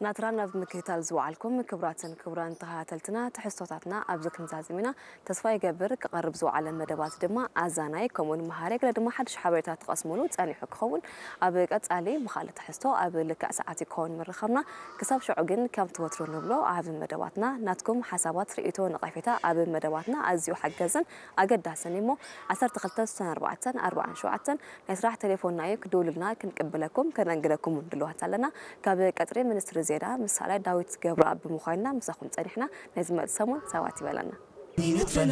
ናትራን ኣብ ምክትታል ዝወዓልኩም ክቡራትን ክቡራን ተኸታተልትና፣ ትሕዝቶታትና ኣብዚ ክንዛዝም ኢና። ተስፋ ይገብር ክቐርብ ዝወዓለ መደባት ድማ ኣዛናይ ከምኡውን መሃሪ ገለ ድማ ሓድሽ ሓበሬታ ትቐስሙሉ ጸኒሑ ክኸውን። ኣብ ቀጻሊ ብኻልእ ትሕዝቶ ኣብ ልክዕ ሰዓት ይከውን ምርኻብና። ክሳብ ሽዑ ግን ከምቲ ወትሩ ንብሎ ኣብ መደባትና ናትኩም ሓሳባት፣ ርእይቶ፣ ነቐፌታ ኣብ መደባትና ኣዝዩ ሓገዝን ኣገዳስን እዩ እሞ ዓሰርተ ክልተ ስሳን ኣርባዕተን ኣርባዓን ሸውዓተን ናይ ስራሕ ቴሌፎንና እዩ። ክድውሉልና ክንቅብለኩም ከነንግደኩም እውን ድልዋት ኣለና። ካብ ቀጽሪ ሚኒስትሪ ዜና ምስ ሳላይ ዳዊት ገብረኣብ ብምዃንና ምሳኹም ጸኒሕና። ናይ ዝመጽእ ሰሙን ሰባት ይበለና።